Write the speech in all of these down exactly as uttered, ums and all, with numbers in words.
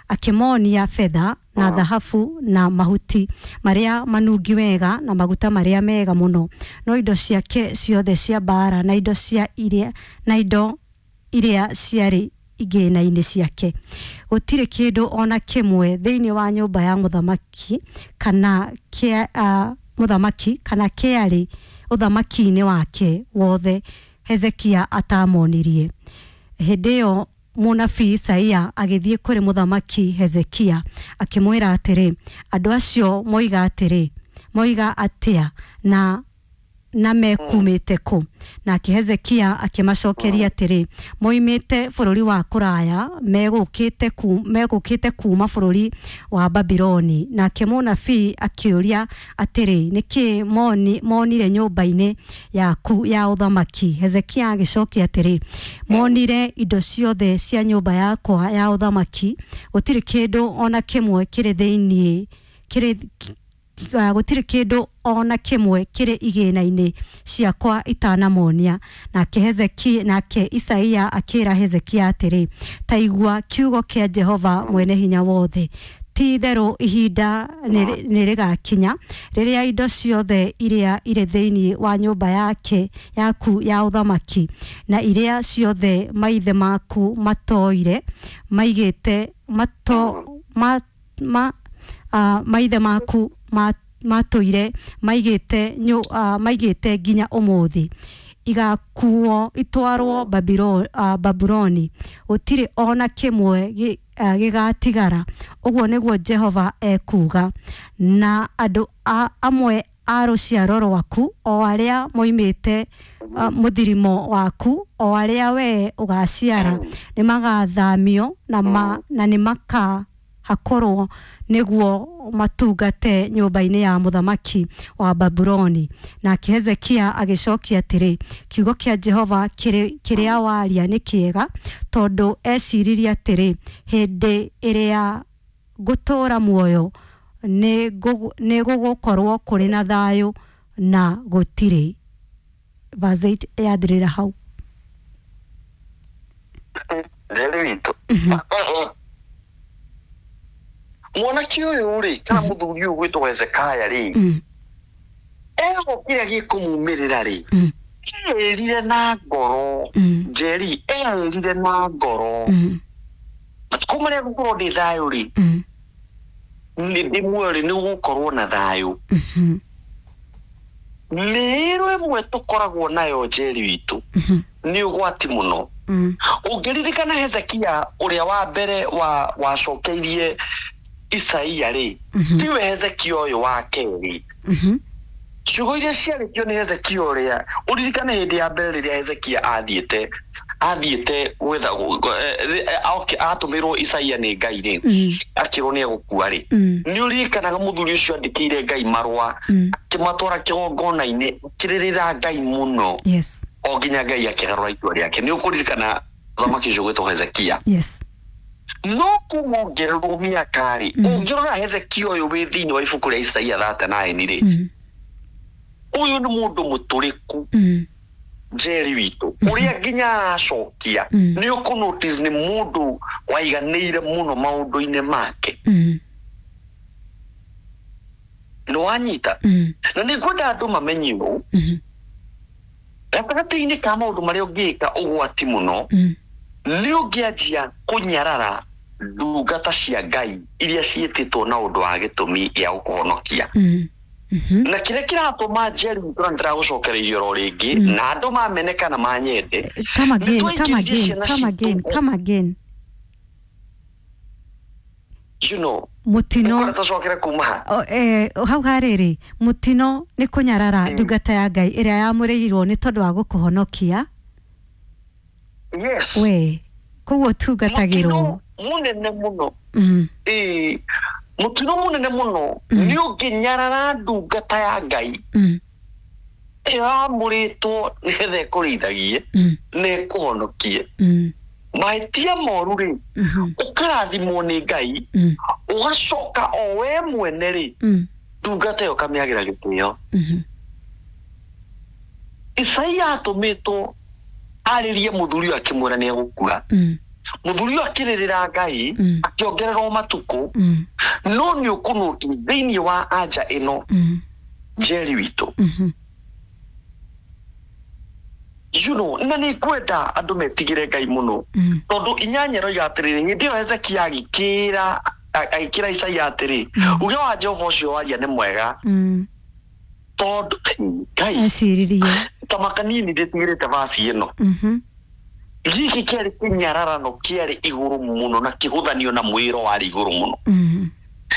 Akĩmonia betha na thahabu na mahuti marĩa manungi wega na maguta marĩa mega mũno, no indo ciake ciothe cia mbaara na indo cia iria na indo iria ciarĩ igĩna-inĩ ciake, gũtirĩ kĩndũ ona kĩmwe thĩinĩ wa nyũmba ya mũthamaki kana kĩa uh, mũthamaki kana kĩarĩ ũthamaki-inĩ wake wothe Hezekia atamonirie. Hĩndĩ ĩyo mũnabii Isaia agĩthiĩ kũrĩ mũthamaki Hezekia akĩmwĩra atĩrĩ, andũ acio moiga atĩrĩ, moiga atĩa na na mekumĩte kũ? Nake Hezekia akĩmacokeria atĩrĩ, moimĩte bũrũri wa kũraya, megũkĩte ku, megũkĩte kuuma bũrũri wa Babironi. Nake mũnabii akĩũria atĩrĩ, nĩkĩ moni, monire nyũmba-inĩ yaku ya ũthamaki? Hezekia agĩcokia atĩrĩ, monire indo ciothe cia nyũmba yakwa ya ũthamaki, gũtirĩ kĩndũ ona kĩmwe kĩrĩ thĩinĩ kĩrĩ uh, gũtirĩ kĩndũ ona kĩmwe kĩrĩ igĩna-inĩ ciakwa itanamonia. Nake Hezekia, nake Isaia akĩra Hezekia atĩrĩ, ta igua kiugo kĩa Jehova Mwene-Hinya Wothe, ti itherũ ihinda nĩ rĩgakinya rĩrĩa indo ciothe iria irĩ thĩinĩ wa nyũmba yake yaku ya ũthamaki na iria ciothe maithe maku matoire maigĩte mato ma, ma, uh, maithe maku ma, matũire maigĩte nyu, uh, maigĩte nginya ũmũthĩ igakuo itwarwo Babiro, uh, Babuloni, gũtirĩ ona kĩmwe gĩ- uh, gĩgatigara. Ũguo nĩguo Jehova ekuuga. Na andũ a, amwe a rũciaro rwaku, o arĩa moimĩte uh, mũthirimo waku, o arĩa wee ũgaciara, nĩ magathamio na, ma, na nĩ makahakorwo nĩguo matungate nyũmba-inĩ ya mũthamaki wa Babuloni. Nake Hezekia agĩcokia atĩrĩ, kiugo kĩa Jehova kĩrĩ- kĩrĩa waria nĩ kĩega, tondũ eciririe atĩrĩ, hĩndĩ ĩrĩa ngũtũũra muoyo nĩ ngũgũ- nĩ gũgũkorwo kũrĩ na thayũ na gũtirĩ. Verse eight yathirĩra hau. Njeri witũ, mwanake ũyũ rĩ, kana mũthuri ũyũ gwĩtwo Hezekaya rĩ, Mm, egũkĩrĩa gĩkũmumĩrĩra rĩ, mm, erire na ngoro. Mm. Njeri, erire na ngoro, mm, matukũ marĩa ngũkorwo ndĩ thayũ rĩ, mm, nĩ ndĩ muoyo rĩ, nĩ gũgũkorwo na thayũ. Mhm, Mĩĩro ĩmwe tũkoragwo nayo, Njeri witũ, mhm, nĩ ũgwati mũno. mm, Ũngĩririkana Hezekia ũrĩa wa mbere wa wacokeirie Isaia rĩ, Mhm. tiwe Hezekia ũyũ wa kerĩ. Mhm, Ciugo iria ciarĩtio nĩ Hezekia ũrĩa, ũririkane hĩndĩ ya mbere rĩrĩa Hezekia athiĩte athiĩte gwetha eh, eh, atũmĩrwo Isaia nĩ Ngai rĩ, mm, akĩrwo nĩ egũkua rĩ, mm, nĩ ũririkanaga mũthuri ũcio andĩkĩire Ngai marũa, mm. akĩmatwara kĩgongona-inĩ, akĩrĩrĩra Ngai mũno, Yes. o nginya Ngai akĩgarũra itua rĩake. Nĩ ũkũririkana mũthamaki ũcio gwĩtwo Hezekia? Yes. No kuma ongererwo mĩaka rĩ, Mm. ũngĩrora Hezekia ũyũ wĩ thĩinĩ wa ibuku rĩa Isaia thirty-nine rĩ, Mm, ũyũ nĩ mũndũ mũtũrĩku. mm, Njeri witũ, ũrĩa nginya aracokia, Mm. nĩ ũkũ notice nĩ mũndũ waiganĩire mũno maũndũ-inĩ make. Mm, Nĩ wanyita? Mm, na nĩ ngwenda andũ mamenye ũũ, mhm, gatagatĩ-inĩ ka maũndũ marĩa ũngĩka ũgwati mũno, mm, nĩ ũngĩanjia kũnyarara ndungata cia Ngai iria ciĩtĩtwo na ũndũ wa gĩtũmi gĩa gũkũhonokia. Mm, mhm, Na kĩrĩa kĩratũma, Njeri, nĩ ndĩragũcokereirie oro rĩngĩ, Mm. na andũ mamene kana manyende, Come again, nĩ come twaingĩririe again, ciana come again, citũ. come again. You know Mũtino. Nĩngwenda tũcokere kuma ha. O, eh, hau harĩrĩ mũtino nĩ kũnyarara Mm. ndungata ya Ngai ĩrĩa yamũrĩirwo nĩ tondũ wa gũkũhonokia. Yes. We koguo ũtungatagĩrwo. Mũtino mũnene mũno, Mm, ĩĩ, mũtino mũnene mũno Mm. nĩ ũngĩnyarara ndungata ya Ngai mm, ĩyo yamũrĩtwo nĩgetha ĩkũrĩithagie mm, na ĩkũhonokie. mm, Mahĩtia moru rĩ, mhm, ũkarathimwo nĩ Ngai, mm, ũgacoka o we mwene rĩ, mm, ndungata ĩyo ũkamĩagĩra gĩtĩo. Mhm, Isaia atũmĩtwo arĩrie mũthuri ũyũ akĩmwĩra nĩ egũkua. Mm, Mũthuri ũyũ akĩrĩrĩra Ngai, Mm. akĩongererwo matukũ. Mm. No nĩ ũkũnũti thĩinĩ wa anja ĩno, Mm. Njeri witũ, Mhm. you know na nĩ ngwenda andũ metigĩre Ngai mũno, Mm. tondũ inyanya ĩroiga atĩrĩrĩ, hĩndĩ ĩyo Hezekia agĩkĩra agĩkĩra Isaia atĩrĩ, Mm. uge wa Jehova ũcio waria nĩ mwega, Mm. tondũ Ngai Eciririe. Ta makanini ndĩtigĩrĩte vaci ĩno. Mhm. Gĩkĩ kĩarĩ kĩnyararano kĩarĩ igũrũ mũno na kĩhũthanio na mwĩro warĩ igũrũ mũno. Mm.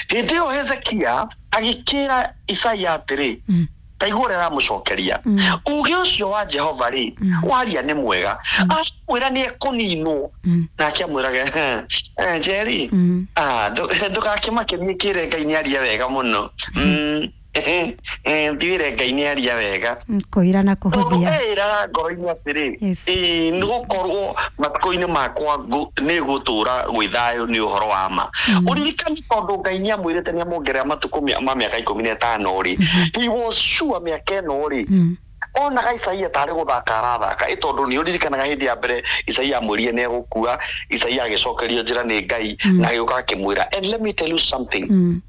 Hĩndĩ ĩyo Hezekia agĩkĩra Isaia atĩrĩ, Mm. ta igua ũrĩa aramũcokeria, Mm. uge ũcio wa Jehova rĩ, Mm. waria nĩ mwega. Acamwĩra nĩ ekũninwo, Mm. nake nake amwĩraga, "Eh, Njeri, Mm. ah, ndũ- ndũgakĩmake, niĩ kĩre Ngai nĩ aria wega mũno. Mm, eh, eh, ndiwĩre Ngai nĩ aria wega." Kũira na Tondũ kũhũthia. eĩraga ngoro-inĩ atĩrĩ, Yes. ĩĩ, nĩ gũkorwo matukũ-inĩ makwa ngũ- nĩ gũtũra gwĩ thayũ. Nĩ ũhoro wa ma. Mm. Ũririkani, tondũ Ngai nĩ amwĩrĩte nĩ amuongerera matukũ mĩa- ma mĩaka ikũmi na ĩtano rĩ, he was sure mĩaka ĩno rĩ, Mm. onaga Isaia tarĩ gũthaka arathaka, ĩ tondũ nĩ ũririkanaga hĩndĩ ya mbere Isaia amwĩrire nĩ egũkua, Isaia agĩcokerio njĩra nĩ Ngai, Mm. na agĩũka akĩmwĩra. And let me tell you something, Mm.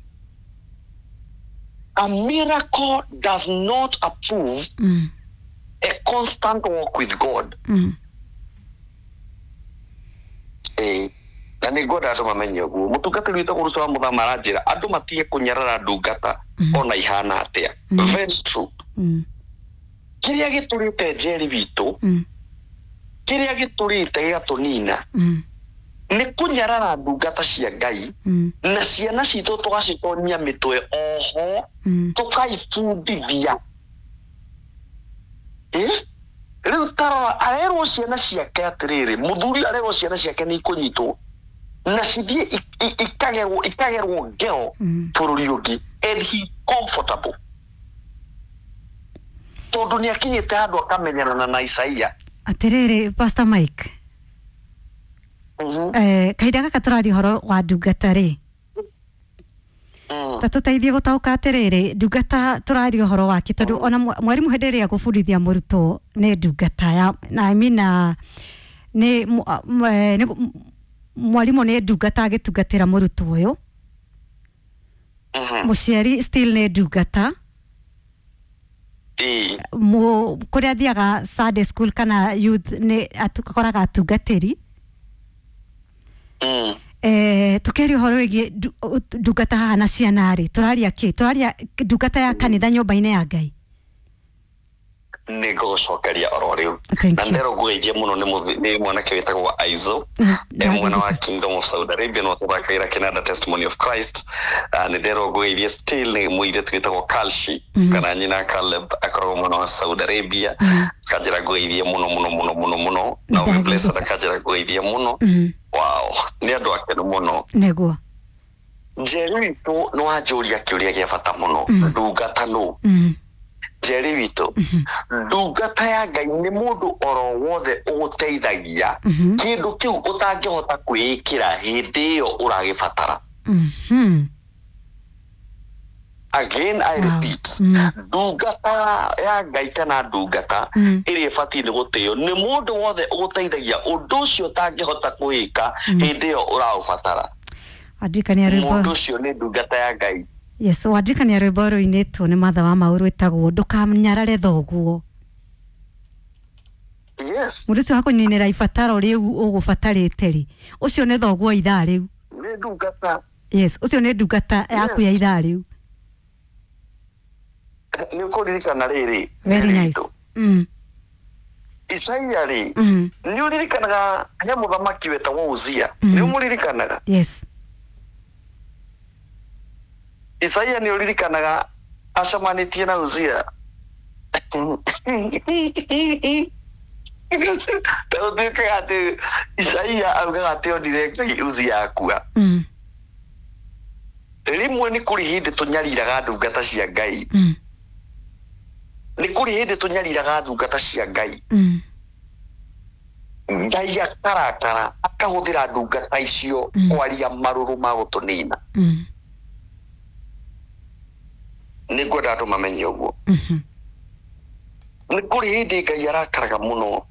a miracle does not approve Mm. a constant walk with God. Mm. Ĩĩ, na nĩ ngwenda andũ mamenye ũguo. Mũtungatĩri witũ Ruto wa Mũthama aranjĩra andũ matige kũnyarara ndungata, Mm. ona ihana atĩa. Mm. Very true. Mm. Kĩrĩa gĩtũrĩte, Njeri witũ, Mm. kĩrĩa gĩtũrĩte gĩgatũnina Mm. nĩ kũnyarara ndungata cia Ngai, Mm. na ciana citũ tũgacitonia mĩtwe oho, Mm. tũkaibundithia. Ĩ, rĩu tarora, arerwo ciana ciake atĩrĩrĩ, mũthuri arerwo ciana ciake nĩ ikũnyitwo na cithiĩ i- i- ikagerwo ikagerwo ngero Mm. bũrũri ũngĩ, and he's comfortable tondũ nĩ akinyĩte handũ akamenyerana na Isaia. Atĩrĩrĩ, Pastor Mike, Mhm. eh, kahinda gaka tũraria ũhoro wa ndungata rĩ, Mm. ta tũteithie gũtaũka atĩrĩrĩ, ndungata tũraria ũhoro wake, tondũ ona mwa- mwarimũ hĩndĩ ĩrĩa agũbundithia mũrutwo nĩ ndungata ya na I mean, ah, nĩ mũ- ah, m- eh, nĩ m- mwarimũ nĩ ndungata agĩtungatĩra mũrutwo ũyũ. Mhm. Mũciari still nĩ ndungata. Ĩĩ. Mu kũrĩa athiaga Sunday school kana youth nĩ akoraga atungatĩri. Mm. Eh, tukiaria ũhoro wĩgiĩ ndu- ũ- ndungata haha na ciana rĩ, tũraria kĩ? Tũraria ndungata ya kanitha, nyũmba-inĩ ya Ngai? Nĩ ngũgũcokeria oro rĩu. Thank Na you. nderwo ngũgeithie mũno nĩ mũthi- nĩ mwanake wĩtagwo Aizo, Mm, e mwena wa Kingdom of Saudi Arabia, no tũthakagira kĩnanda Testimony of Christ. Ah, nĩ nderwo ngũgeithie still nĩ mũirĩtu wĩtagwo Kalshi, Mm. kana nyina Caleb, akoragwo mwena wa Saudi Arabia. Mm. Kanjĩra ngũgeithie mũno mũno mũno mũno mũno. Na Ndagĩrĩka. Blessed akanjĩra ngũgeithie mũno. Mm, Wow, nĩ andũ akenu mũno. Nĩguo. Njeri witũ, nĩ wanjũria kĩũria gĩa bata mũno. Mm. Ndungata nũ? Mm, Njeri witũ, ndungata ya Ngai nĩ mũndũ oro wothe ũgũteithagia Mhm. kĩndũ kĩu ũtangĩhota kwĩĩkĩra hĩndĩ ĩyo ũragĩbatara. Mhm. Again I Wow. repeat, Mm. ndungata ya Ngai kana ndungata Mm. ĩrĩa ĩbatiĩ nĩ gũtĩo nĩ mũndũ wothe ũgũteithagia ũndũ ũcio ũtangĩhota kwĩĩka Mm. hĩndĩ ĩyo ũraũbatara. Wandirikania Mũndũ rwĩmbo. ũcio nĩ ndungata ya Ngai. Yes, wandirikania rwĩmbo rũinĩtwo nĩ Matha wa Mau rwĩtagwo "Ndũkanyarare Thoguo". Yes. Mũndũ ũcio wakũninĩra ibataro rĩu ũgũbatarĩte rĩ, ũcio nĩ thoguo ithaa rĩu. Nĩ ndungata. Yes, ũcio nĩ ndungata yaku ya ithaa rĩu. Nĩ ũkũririkana rĩrĩ, Very nice. mm. Isaia rĩ, Mm. nĩ ũririkanaga he mũthamaki wetagwo Uzia? Mm. Nĩ ũmũririkanaga? Yes. Isaia, nĩ ũririkanaga acemanĩtie na Uzia? Ũtuĩkaga atĩ Isaia augaga atĩ onire Ngai Uzia akua. mm. Rĩmwe nĩ kũrĩ hĩndĩ tũnyariraga ndungata cia Ngai. Mm. Nĩ kũrĩ hĩndĩ tũnyariraga ndungata cia Ngai. Mm. Ngai akarakara, akahũthĩra ndungata icio Mm. kwaria marũrũ ma gũtũnina. Mm. Nĩ ngwenda andũ mamenye ũguo. Mhm. Nĩ kũrĩ hĩndĩ Ngai arakaraga mũno.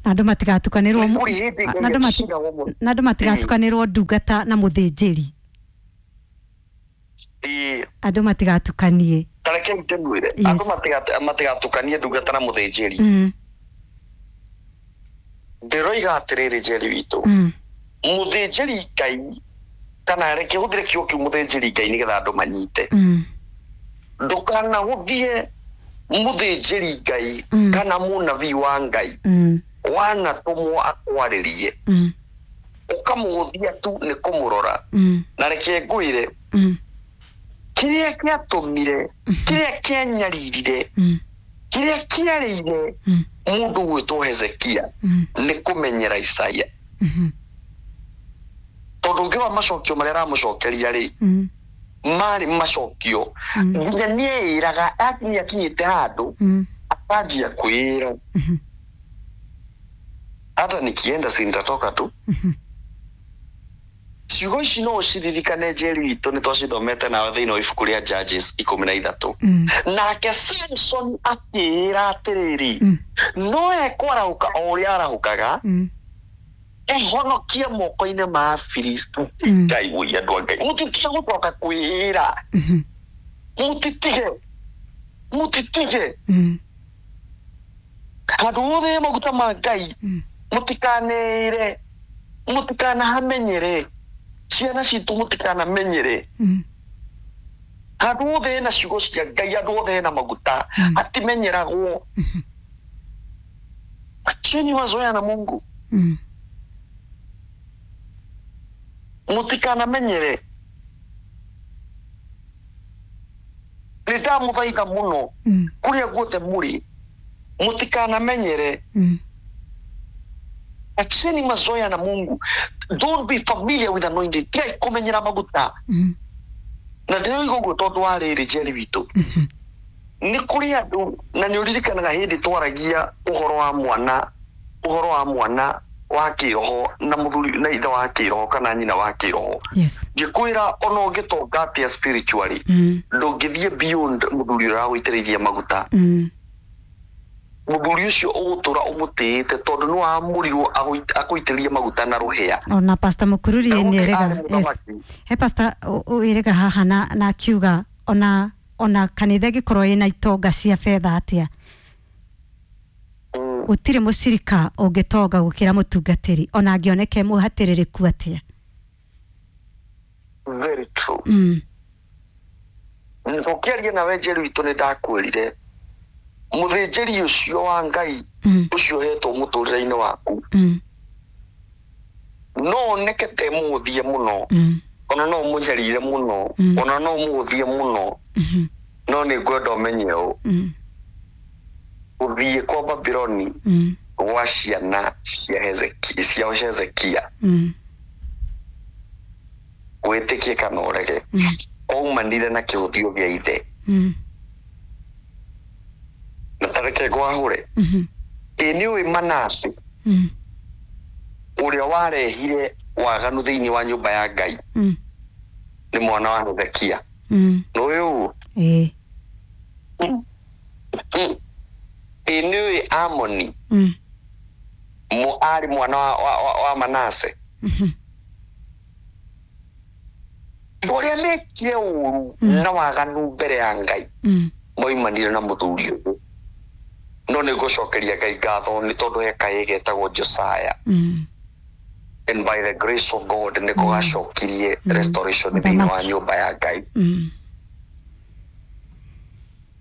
Na andũ matigatukanĩrwo Nĩ kũrĩ hĩndĩ Ngai na andũ mati- aciraga mũno. na andũ matigatukanĩrwo ndungata na mũthĩnjĩri. Ĩĩ. Andũ matigatukanie. Tareke ndĩmwĩre, Yes. andũ matiga- matigatukanie ndungata na mũthĩnjĩri. Mm. Ndĩroiga atĩrĩrĩ, Njeri witũ, Mm. mũthĩnjĩri Ngai, kana reke hũthĩre kiugo kĩu mũthĩnjĩri Ngai nĩgetha andũ manyite. Mm. Ndũkanahũthie mũthĩnjĩri Ngai Mm. kana mũnabii wa Ngai Mm. wanatũmwo akwarĩrie, Mm. ũkamũhũthia tu nĩ kũmũrora. Mm. Na reke ngwĩre, Mm. kĩrĩa kĩatũmire, kĩrĩa kĩanyaririre, Mm. kĩrĩa kĩarĩire Mm. mũndũ gwĩtwo Hezekia Mm. nĩ kũmenyera Isaia. Mhm. Tondũ ũngĩrora macokio marĩa aramũcokeria rĩ, Mm. marĩ macokio Mm. nginya nĩeĩraga, nĩ akinyĩte handũ Mm. akanjia kwĩĩra, Mhm. hata nikienda si nitatoka tu. Mhm. Ciugo ici no ũciririkane, Njeri witũ, nĩ twacithomete nawe thĩinĩ wa ibuku rĩa Judges ikũmi na ithatũ. Mm. Nake Samson akĩĩra atĩrĩrĩ, Mm. no ekwarahũka o ũrĩa arahũkaga, Mm. ehonokie moko-inĩ ma Afilisti. Mm. Ngai woi, andũ a Ngai, mũtitige gũcoka kwĩĩra. Mhm. Mũtitige, mũtitige. Mm. Handũ hothe maguta ma Ngai, Mm. mũtikanĩĩre, mũtikanahamenyere. Ciana citũ, mũtikanamenyere. Mm. Handũ hothe hena ciugo cia Ngai, handũ hothe hena maguta, Mm. atimenyeragwo. Mhm. Acheni mazoea na Mungu. Mm. Mũtikanamenyere. Nĩ ndamũthaitha mũno, Mm. kũrĩa guothe mũrĩ, mũtikanamenyere. Mm. Acheni mazoea na Mungu. Don't be familiar with anointing. Tigai kũmenyera maguta. Mm. Na ndĩroiga ũguo tondũ wa rĩrĩ, Njeri witũ, Mhm. nĩ kũrĩ andũ, na nĩ ũririkanaga hĩndĩ twaragia ũhoro wa mwana, ũhoro wa mwana wa kĩroho na mũthuri na ithe wa kĩroho kana nyina wa kĩroho. Yes. Ngĩkwĩra ona ũngĩtonga atĩa spiritually, Mm. ndũngĩthiĩ beyond mũthuri ũrĩa wagũitĩrĩirie maguta. Mm. Mũthuri ũcio ũgũtũra ũmũtĩĩte tondũ nĩ wamũrirwo akũitĩrĩrie maguta na rũhĩa. Ona Pastor Mukururi Daudi nĩ erega. arĩ Yes. mũthamaki. He pastor wĩrega haha na na akiuga ona ona kanitha ĩngĩkorwo ĩna itonga cia betha atĩa, Mm. gũtirĩ mũcirika ũngĩtonga gũkĩra mũtungatĩri, ona angĩoneke mũhatĩrĩrĩku atĩa. Very true. Mm. Tũkĩaria nawe, Njeri witũ, nĩ ndakwĩrire mũthĩnjĩri ũcio wa Ngai, Mm. ũcio ũhetwo mũtũrĩre-inĩ waku, Mm. no oneke te mũhũthie mũno, Mm. ona no ũmũnyarire mũno, Mm. ona no ũmũhũthie mũno, Mhm. no nĩ ngwenda ũmenye ũũ, Mm. gũthiĩ kwa Babiloni Mm. gwa ciana cia Hezekia, cia Hezekia, Mm. wĩtĩkie kana ũrege, Mm. kwaumanire na kĩhũthio gĩa ithe. Mm. Na tareke ngwahũre. Mhm. Ĩ nĩ ũĩ Manase, Mm. ũrĩa warehire waganu thĩinĩ wa nyũmba ya Ngai, Mm. nĩ mwana wa Hezekia? Mm. Nĩũĩ ũguo? Ĩĩ. Ĩ nĩ ũĩ Amoni Mm. mo arĩ mwana wa, wa, wa, wa Manase? Mhm. Andũ arĩa mekire ũru Mm. na waganu mbere ya Ngai Mm. moimanire na mũthuri ũyũ. No nĩ ngũcokeria Ngai ngatho nĩ tondũ he kahĩĩ getagwo Josiah, Mm. and by the grace of God nĩko gacokirie Mm. restoration thĩinĩ wa Mũthamaki. nyũmba ya Ngai. Mm.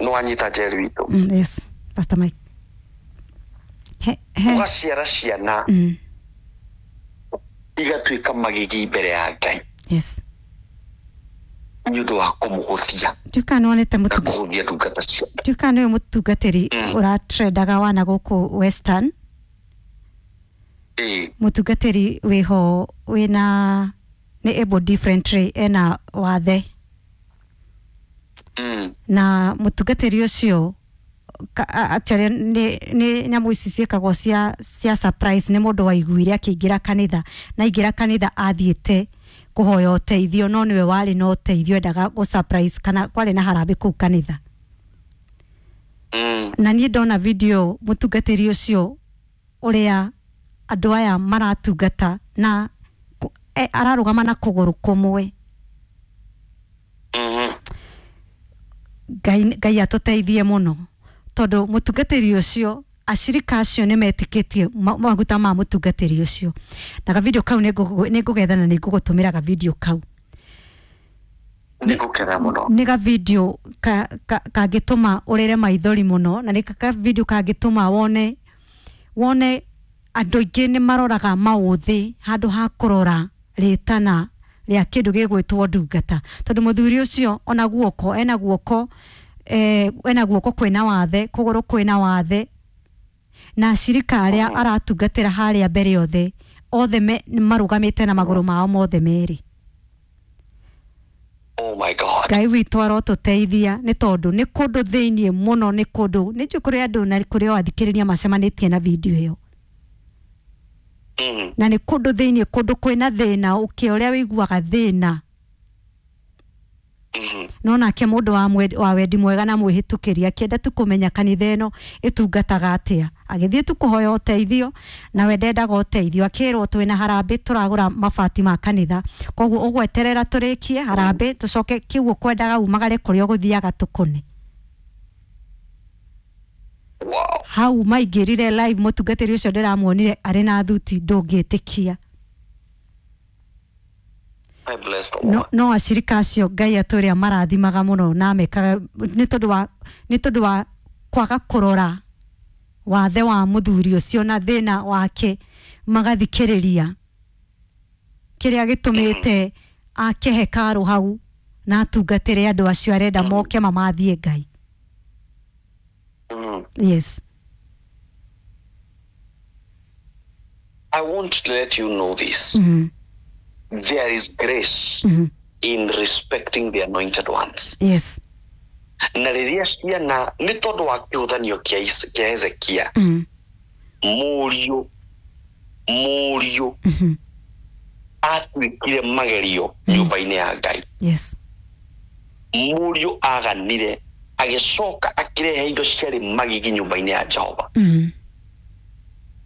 Nĩ wanyita, Njeri witũ? Mm. Yes. Pastor Mike. He he. Ũgaciara ciana Mm. igatuĩka magigi mbere ya Ngai Yes. nĩ ũndũ wa kũmũhũthia Tuĩka nĩ wonete na mũtunga kũhũthia ndungata cia. Tuĩka nĩwe mũtungatĩri Mm. ũratrendaga wana gũkũ Western. Ĩĩ. Mũtungatĩri wĩho wĩna nĩ able differently, ena wathe. Mm. Na mũtungatĩri ũcio ka- a- actually nĩ nĩ nyamũ ici ciĩkagwo cia cia surprise. Nĩ mũndũ waiguire akĩingĩra kanitha, na aingĩra kanitha athiĩte kũhoya ũteithio, no nĩwe warĩ na ũteithio, endaga gũ surprise kana kwarĩ na harambĩ kũu kanitha. Mm. Na niĩ ndona video mũtungatĩri ũcio. ũrĩa andũ aya maratungata na e, ararũgama na kũgũrũ kũmwe. Mhm. Ngai Ngai atũteithie mũno tondũ mũtungatĩri ũcio acirika acio nĩ metĩkĩtie maguta ma mũtungatĩri ũcio na gavideo kau nĩ ngũgetha na nĩ ngũgũtũmĩra gavideo kau. Nĩngũkena mũno. Nĩ gavideo kangĩtũma ũrĩre maithori mũno na nĩ gavideo kangĩtũma wone wone andũ aingĩ nĩ maroraga maũthĩ handũ ha kũrora rĩtana rĩa kĩndũ gĩgwĩtwo ndungata tondũ mũthuri ũcio ona guoko ena guoko eh, ena guoko kwĩna wathe kũgũrũ kwĩna wathe na acirika arĩa aratungatĩra harĩa mbere othe othe marũgamĩte na magũrũ mao mothe merĩ. Oh my God. Ngai witũ arotũteithia nĩ tondũ nĩ kũndũ thĩiniĩ mũno nĩ kũndũ nĩ njũĩ kũrĩ andũ na kũrĩ o athikĩrĩria macemanĩtie na video ĩyo. Mm. Na nĩ kũndũ thĩiniĩ kũndũ kwĩna thĩna ũkĩ ũrĩa wĩiguaga thĩna. Mm. No nake mũndũ wa wa wendi mwega na mwĩhĩtũkĩri akĩenda tu kũmenya kanitha ĩno ĩtungataga atĩa agĩthiĩ tu kũhoya ũteithio na we ndendaga ũteithio akĩrwo twĩna harambĩ tũragũra mabati ma kanitha koguo ũgweterera tũrĩkie harambĩ tũcoke kĩu ũkwendaga umagare kũrĩa ũgũthiaga tũkũne. Wow. Hau maingĩrire live mũtungatĩri ũcio ndĩramuonire arĩ na thuti ndũngĩtĩkia. I bless the No, Lord. no acirika acio Ngai atũrĩa marathimaga mũno na mekaga nĩ tondũ wa nĩ tondũ wa kwaga kũrora wathe wa mũthuri ũcio na thĩna wake magathikĩrĩria kĩrĩa gĩtũmĩte ake hekarũ hau na atungatĩre andũ acio arenda moke mamathiĩ Ngai. Mm. Yes. I want to let you know this. Mm. There is grace mm. in respecting the anointed ones. Yes. Na rĩrĩa ciana nĩ tondũ wa kĩhũthanio kĩa Hezekia mm. mũriũ mũriũ mm-hmm. atuĩkire magerio nyũmba-inĩ ya Ngai. Yes. Mũriũ aganire agĩcoka akĩrehe indo ciarĩ magigi nyũmba-inĩ ya Jehova. Mm.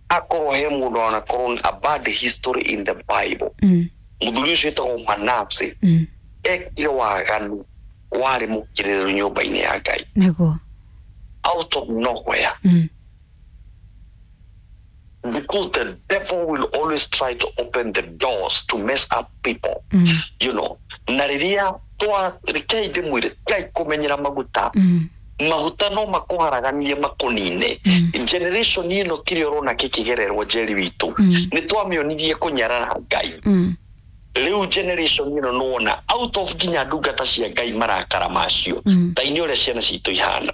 Akorwo he mũndũ onakorwo a bad history in the Bible. Mm. Mũthuri ũcio wĩtagwo Manase mm. ekire waganu warĩ mũkĩrĩrĩru nyũmba-inĩ ya Ngai. Nĩguo. Out of nowhere. Mm. Because the devil will always try to open the doors to mess up people. Mm. You know, na rĩrĩa twa rekei ndĩmwĩre tigai kũmenyera maguta. Mm. Maguta no makũharaganie makũnine. Mm. Generation ĩno kĩrĩa ũrona kĩkĩgererwo Njeri witũ mm. nĩ twamĩonirie kũnyarara Ngai. Mm. Rĩu generation ĩno nĩwona out of nginya ndungata cia Ngai marakara macio mm. ta inĩ ũrĩa ciana citũ ihana.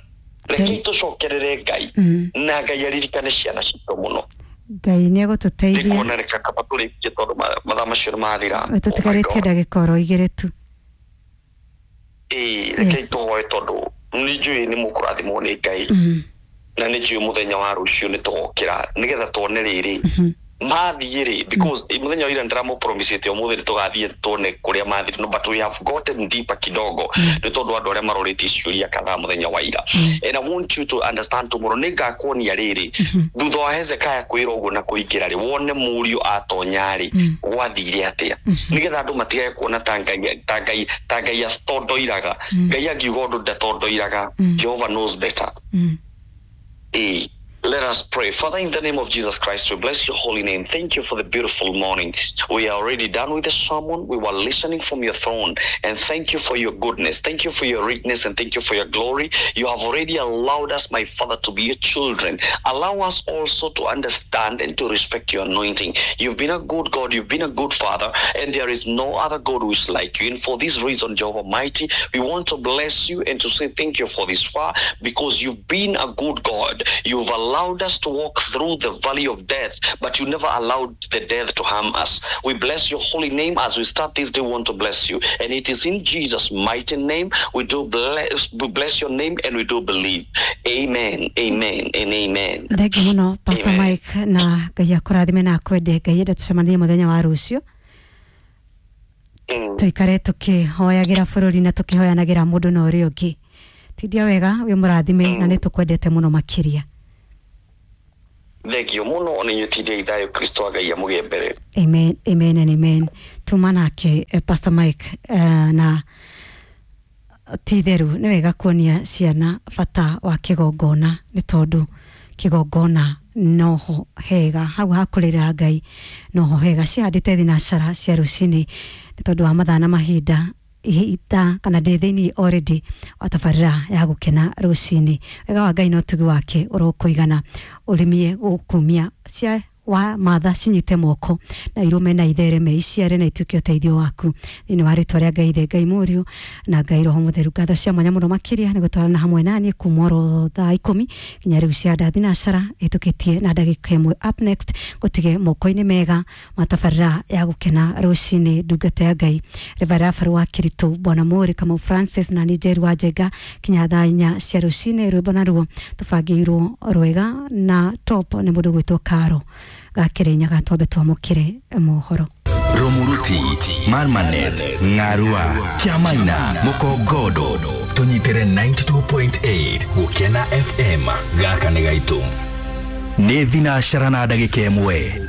Rekei tũcokerere Ngai mm. na Ngai aririkane ciana citũ mũno. Ngai nĩ egũtũteithia. Ndikuona reka kaba tũrĩkie tondũ mathaa macio nĩ mathira. Tũtigarĩtie ndagĩka oro igĩrĩ tu. Ĩĩ, rekei tũhoe tondũ nĩ njũĩ nĩ mũkũrathimwo nĩ Ngai mm. na nĩ njũĩ mũthenya wa rũciũ nĩ tũgokĩra nĩgetha tuone rĩrĩ mathiĩ rĩ because mũthenya wa ira ndĩramũpromisĩte ũmũthĩ nĩ tũgathiĩ tuone kũrĩa mathire no but we have gotten deeper kidogo nĩ tondũ andũ arĩa marorĩtie ciũria kadhaa mũthenya wa ira. And I want you to understand tomorrow nĩ ngakuonia rĩrĩ thutha wa Hezekiah kwĩrwo ũguo na kũingĩra rĩ wone mũriũ atonya rĩ gwathire atĩa nĩgetha andũ matigage kuona ta Ngai ta Ngai ta Ngai atondoiraga. Ngai angiuga ũndũ ndatondoiraga. Jehovah knows better. Ĩĩ. Let us pray. Father, in the name of Jesus Christ, we bless your holy name. Thank you for the beautiful morning. We are already done with the sermon. We were listening from your throne. And thank you for your goodness. Thank you for your richness and thank you for your glory. You have already allowed us, my Father, to be your children. Allow us also to understand and to respect your anointing. You've been a good God. You've been a good Father. And there is no other God who is like you. And for this reason, Jehovah Mighty, we want to bless you and to say thank you for this far because you've been a good God. You've allowed allowed us to walk through the valley of death, but you never allowed the death to harm us. We bless your holy name as we start this day. We want to bless you. And it is in Jesus' mighty name we do bless, we bless your name and we do believe. Amen, amen, and amen. Thank you muno, Pastor Amen. Mike, na Ngai akũrathime na akwende. Ngai enda tũcemanie mũthenya wa rũciũ. Mm. Tũikare tũkĩhoyagĩra bũrũri na tũkĩhoyanagĩra mũndũ na ũrĩa ũngĩ. Tindia wega, wĩ mũrathime na nĩ tũkwendete mũno makĩria. Thengio muno ona inyuĩ tindĩai thayũ Kristo wa Ngai amũgĩe mbere. Amen, amen and amen. Tuma nake eh, Pastor Mike eh, na ti theru nĩ wega kuonia ciana bata wa kĩgongona nĩ tondũ kĩgongona noho hega hau hakũrĩra Ngai noho hega cihandĩte thinacara cia rũcinĩ nĩ tondũ wa mathaa na mahinda ihinda kana ndĩ thĩinĩ already wa tabarĩra ya gũkena rũcinĩ. Wega wa Ngai na ũtugi wake ũrokũigana ũrĩmie gũkumia cia wa matha cinyite moko na irume na ithereme iciare na ituĩke ũteithio waku thĩinĩ wa rĩtwa rĩa Ngai Ithe, Ngai Mũriũ na Ngai Roho Mũtheru. Ngatho cia mwanya mũno makĩria nĩ gũtwarana hamwe naniĩ kuma oro thaa ikũmi nginya rĩu cia nda thinacara ĩtũkĩtie na ndagĩka ĩmwe. Up next gũtige moko-inĩ mega matabarĩra ya gũkena rũcinĩ ndungata ya Ngai Reverend Rafael wa Kiritu Bwana Mũri Kamau Francis na Njeru wa Njenga kinya thaa inya cia rũcinĩ. Rwĩmbo naruo tũbangĩirwo rwega na top nĩ mũndũ gwĩtwo Karo Gakĩrĩnyaga twambe twamũkĩre mohoro. Rumuruti, Marmanet, Ng'arua, Kiamaina, Mukongodo, tũnyitĩre ninety two point eight Gũkena F M gaka nĩ gaitũ. Nĩ thinacara na ndagĩka ĩmwe.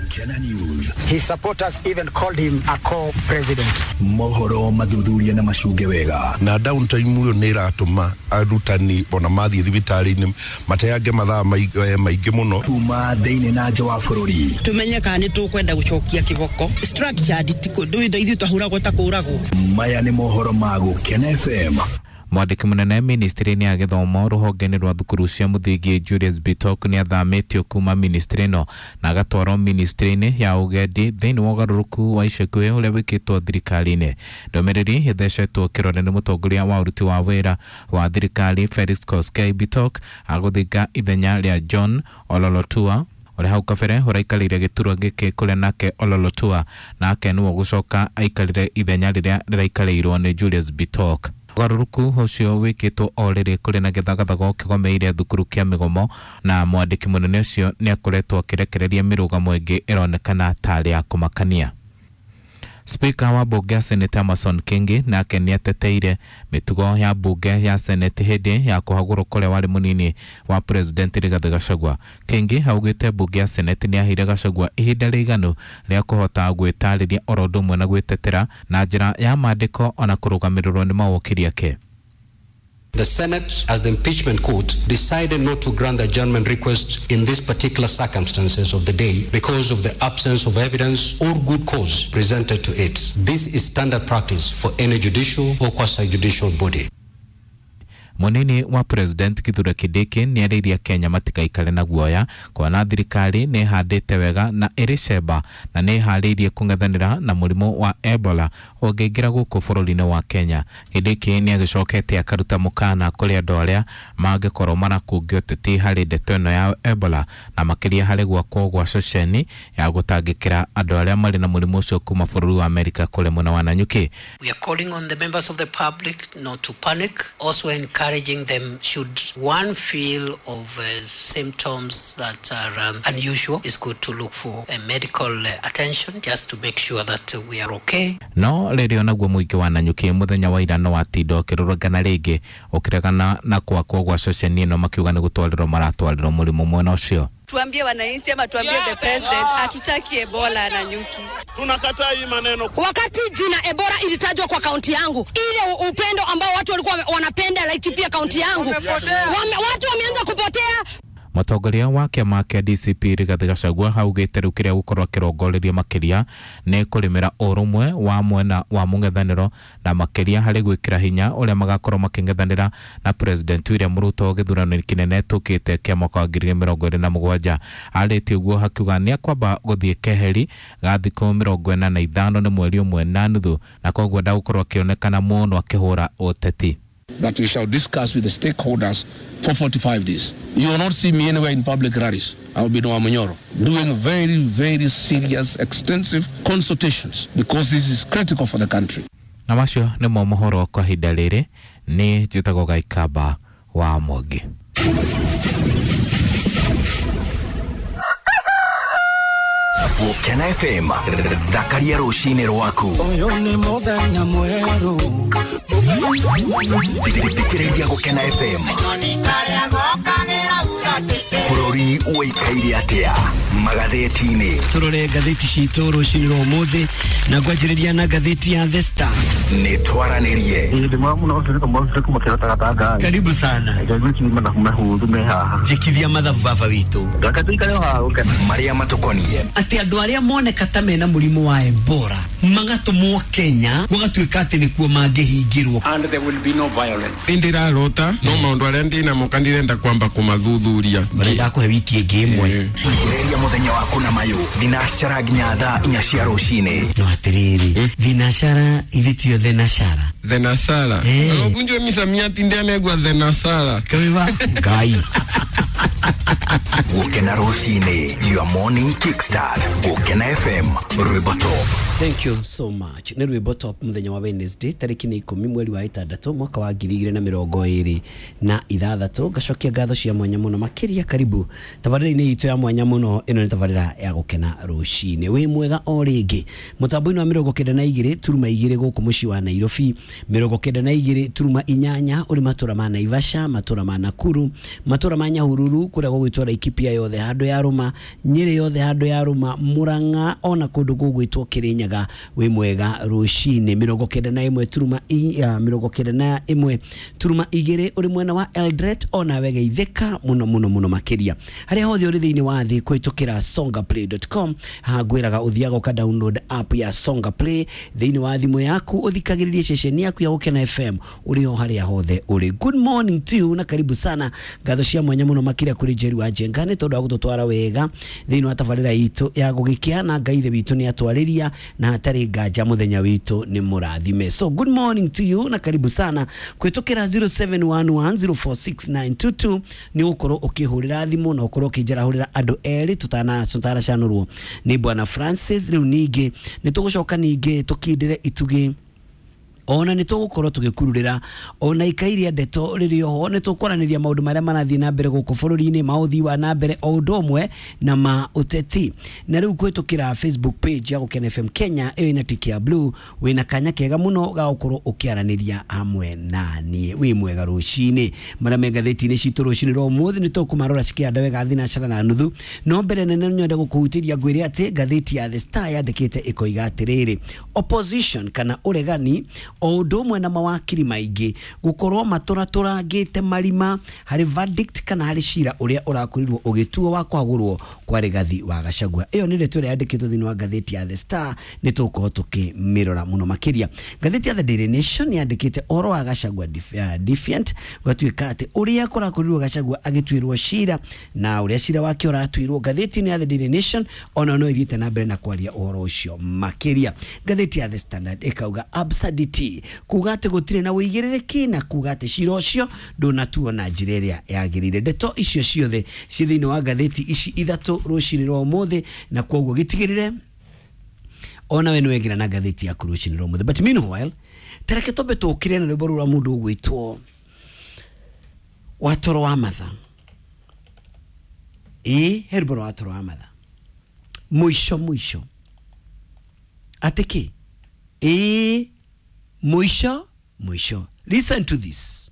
His supporters even called him a co-president. Mohoro mathuthuria na macunge wega. Na downtime ũyũ nĩ ĩratũma arutani ona mathiĩ thibitarĩ-inĩ mateange mathaa maingĩ mũno. Kuma thĩinĩ na nja wa bũrũri. Tumenye kana nĩ tũkwenda gũcokia kĩboko. Structured ti kũndũ ithuĩ twahũragwo ta kũragwo. Maya nĩ mohoro ma Gũkena F M. Mwandĩki mũnene ministry-inĩ ya gĩthomo rũhonge-inĩ rwa thukuru cia mũthingi Julius Bitok nĩ athamĩtio kuma ministry ĩno na agatwarwo ministry-inĩ ya ũgendi thĩinĩ wa ũgarũrũku wa ica ikuhĩ ũrĩa wĩkĩtwo thirikari-inĩ. Ndũmĩrĩri ĩthecetwo kĩrore nĩ mũtongoria wa ũruti wa wĩra wa thirikari Felix Koskei. Bitok agũthinga ithenya rĩa John Ololotua ũrĩa hau kabere ũraikarĩire gĩturwa gĩkĩ kũrĩa nake Ololotua nake nĩwe ũgũcoka aikarĩre ithenya rĩrĩa rĩraikarĩirwo nĩ Julius Bitok. Ũgarũrũku ũcio wĩkĩtwo o rĩrĩ kũrĩ na gĩthagathago kĩgomeire thukuru kĩa mĩgomo na mwandĩki mũnene ũcio nĩ akoretwo akĩrekereria mĩrũgamo ĩngĩ ĩronekana tarĩ ya kũmakania. Speaker wa bunge ya Senate Amason Kingi nake nĩ ateteire mĩtugo ya bunge ya Senate hĩndĩ ya kũhagũrwo kũrĩa warĩ mũnini wa President Rigathi Gachagua. Kingi augĩte bunge ya Senate nĩ yaheire Gachagua ihinda rĩiganu rĩa kũhota gwĩtarĩria oro ũndũ ũmwe na gwĩtetera na njĩra ya maandĩko ona kũrũgamĩrĩrwo nĩ mawokiri ake. The Senate, as the impeachment court, decided not to grant the adjournment request in these particular circumstances of the day because of the absence of evidence or good cause presented to it. This is standard practice for any judicial or quasi-judicial body. Munini wa President Kithure Kindiki nĩarĩirie Kenya matikaikare na guoya kuona thirikari nĩ ĩhandĩte wega na ĩrĩ cemba na nĩ ĩharĩirie kũng'ethanĩra na mũrimũ wa Ebola ũngĩingĩra gũkũ bũrũri-inĩ wa Kenya. Kindiki nĩ agĩcokete akaruta mũkana kũrĩ andũ arĩa mangĩkorwo marakungio ũteti harĩ ndeto ĩno ya Ebola na makĩria harĩ gwakwo gwa ceceni ya gũtangĩkĩra andũ arĩa marĩ na mũrimũ ũcio kuma bũrũri wa Amerika kũrĩa mwena wa Nanyuki. We are calling on the members of the public not to panic, also encouraging them should one feel of uh, symptoms that are um, unusual, it's good to look for a medical uh, attention just to make sure that uh, we are okay. No rĩrĩ onaguo mũingĩ wa Nanyuki mũthenya wa ira no watinda ũkĩrũrũngana rĩngĩ ũkĩregana na kwakwo gwa ceceni ĩno makiuga nĩ gũtwarĩrwo maratwarĩrwo mũrimũ mwena ũcio. Tuambie wananchi ama tuambie the president hatutaki Ebola na Nanyuki. Tunakataa hii maneno. Wakati jina Ebola ilitajwa kwa kaunti yangu, ile upendo ambao watu walikuwa wanapenda Laikipia kaunti yangu, wame, watu wameanza kupotea. Mũtongoria wa kĩama kĩa D C P Rigathi Gachagua augĩte rĩu kĩrĩa gũkorwo akĩrongoreria makĩria nĩ kũrĩmĩra ũrũmwe wa mwena wa mũng'ethanĩro na makĩria harĩ gwĩkĩra hinya ũrĩa magakorwo makĩng'ethanĩra na President William Ruto gĩthurano kĩnene tũkĩte kĩa mwaka wa ngiri mĩrongo ĩrĩ na mũgwanja. Arĩtie ũguo hakiuga nĩ akwamba gũthiĩ keheri ga thikũ mĩrongo ĩna na ithano nĩ mweri ũmwe na nuthu na koguo ndagũkorwo akĩonekana mũno akĩhũra ũteti. That we shall discuss with the stakeholders for forty-five days. You will not see me anywhere in public rallies. I will be in Wamunyoro doing very, very serious, extensive consultations because this is critical for the country. Na macio nĩmo mohoro kwa ihinda rĩrĩ nĩ njĩtagwo Gaikamba wa Mwangi. Gũkena F M thakaria rũcinĩ rwaku. Ũyũ nĩ mũthenya mwerũ. Thikĩrĩria Gũkena F M. Bũrũri ũikaire atĩa magathĩti-inĩ. Tũrore ngathĩti citũ rũcinĩ rwa ũmũthĩ na ngwanjĩrĩria na ngathĩti ya The Star. Nĩ twaranĩrie. Karibu sana. Njĩkithia mathabu baba witũ. Marĩa matũkoniĩ. Atĩ andũ arĩa moneka ta mena mũrimũ wa Ebola magatũmwo Kenya gũgatuĩka atĩ nĩkuo mangĩhingĩrwo. And there will be no violence. Ndirarota no maũndũ arĩa ndĩnamo kandirenda kwamba kũmathuthuria. Barenda kũhe wiki ĩngĩ ĩmwe. Thikĩrĩria mũthenya waku na mayũ thinacara nginya thaa inya cia rũcinĩ. No atĩrĩrĩ, thinacara ithe tio thenashara. Thenashara. No misamiati ndianegwa thenashara. Kaiwa Ngai. Gũkena rũcinĩ, your morning kickstart. Gũkena F M, rwĩmbo top. Thank you so much. Nĩ rwĩmbo top mũthenya wa Wednesday tarĩki nĩ ikũmi mweri wa ĩtandatũ mwaka wa ngiri igĩrĩ na mĩrongo ĩrĩ na ithathatũ. Ngacokia ngatho cia mwanya mũno makĩria. Karibu tabarĩra-inĩ itũ ya mwanya mũno. Ĩno nĩ tabarĩra ya Gũkena rũcinĩ. Wĩ mwega o rĩngĩ mũtambo-inĩ wa mĩrongo kenda na igĩrĩ turuma igĩrĩ gũkũ mũciĩ wa Nairobi, mĩrongo kenda na igĩrĩ turuma inyanya ũrĩ matũra ma Naivasha, matũra ma Nakuru, matũra ma Nyahururu kũrĩa gũgwĩtwo Laikipia yothe handũ ya Rũma, Nyĩrĩ yothe handũ ya Rũma, Murang'a ona kũndũ gũgwĩtwo Kĩrĩnyaga. Wĩ mwega rũcinĩ. Mĩrongo kenda na ĩmwe turuma mĩrongo kenda na ĩmwe turuma igĩrĩ ũrĩ mwena wa Eldoret, ona wegeithĩka mũno mũno mũno makĩria. Harĩa hothe ũrĩ thĩinĩ wa thĩ kũhĩtũkĩra songaplay dot com, hangwĩraga ũthiaga ũka download app ya Songa Play thĩinĩ wa thimũ yaku, ũthikagĩrĩrie ceceni yaku ya Gũkena F M ũrĩ o harĩa hothe ũrĩ. Good morning to you na karibu sana. Ngatho cia mwanya mũno makĩria kũrĩ Jerry wa Njenga nĩ tondũ wa gũtũtwara wega thĩinĩ wa tabarĩra itũ ya gũgĩkĩa, na Ngai ithe witũ nĩ atwarĩria na hatarĩ nganja mũthenya witũ nĩ mũrathime. So good morning to you na karibu sana kũhĩtũkĩra zero seven one one zero four six nine two two nĩ ũgũkorwo ũkĩhũrĩra thimũ na ũkorwo ũkĩnjarahũrĩra andũ erĩ tũtana tũtanacanũrwo nĩ Bwana Francis. Rĩu ningĩ nĩ tũgũcoka ningĩ tũkindĩre itugĩ, ona nĩ tũgũkorwo tũgĩkururĩra ona ikairia ndeto rĩrĩ oho. Nĩ tũkwaranĩria maũndũ marĩa marathiĩ na mbere gũkũ bũrũri-inĩ, ma ũthii wa na mbere o ũndũ ũmwe na ma ũteti. Na rĩu kũhĩtũkĩra Facebook page ya Gũkena F M Kenya ĩyo ĩna tiki ya blue, wĩna kanya kega mũno ga gũkorwo ũkĩaranĩria hamwe na niĩ. Wĩ mwega rũcinĩ. Marĩa me ngathĩti-inĩ citũ rũcinĩ rwa ũmũthĩ nĩ tũkũmarora cikĩanda wega thinacara na nuthu. No mbere nene nyende gũkũhutĩria ngwĩre atĩ ngathĩti ya The Star yandĩkĩte ĩkoiga atĩrĩrĩ, opposition kana ũregani o ũndũ ũmwe na mawakiri maingĩ gũkorwo matũratũrangĩte marima harĩ verdict kana harĩ cira ũrĩa ũrakorirwo ũgĩtuo wa kwagũrwo kwa Rigathi wa Gachagua. Ĩyo nĩ ndeto ĩrĩa yandĩkĩtwo thĩinĩ wa ngathĩti ya The Star, nĩ tũgũkorwo tũkĩmĩrora mũno makĩria. Ngathĩti ya The Daily Nation yandĩkĩte ũhoro wa Gachagua defiant, gũgatuĩka atĩ ũrĩa kũrakorirwo Gachagua agĩtuĩrwo cira na ũrĩa cira wake ũratuirwo. Ngathĩti-inĩ ya The Daily Nation ona no ĩthiĩte na mbere na kwaria ũhoro ũcio makĩria. Ngathĩti ya The Standard ĩkauga absurdity, kuga atĩ gũtirĩ na ũigĩrĩrĩki na kuga atĩ cira ũcio ndũnatuo na njĩra ĩrĩa yagĩrĩire. Ndeto icio ciothe ciĩ thĩinĩ wa ngathĩti ici ithatũ rũcinĩ rwa ũmũthĩ, na kwoguo gĩtigĩrĩre ona we nĩwegĩra na ngathĩti yaku rũcinĩ rwa ũmũthĩ. But meanwhile, tareke twambe tũkĩre na rwĩmbo rũrũ rwa mũndũ ũgwĩtwo Watoro wa Matha. Ĩ he rwĩmbo rwa Watoro wa Matha, mũico mũico atĩ kĩ? Ĩ mũico mũico. Listen to this.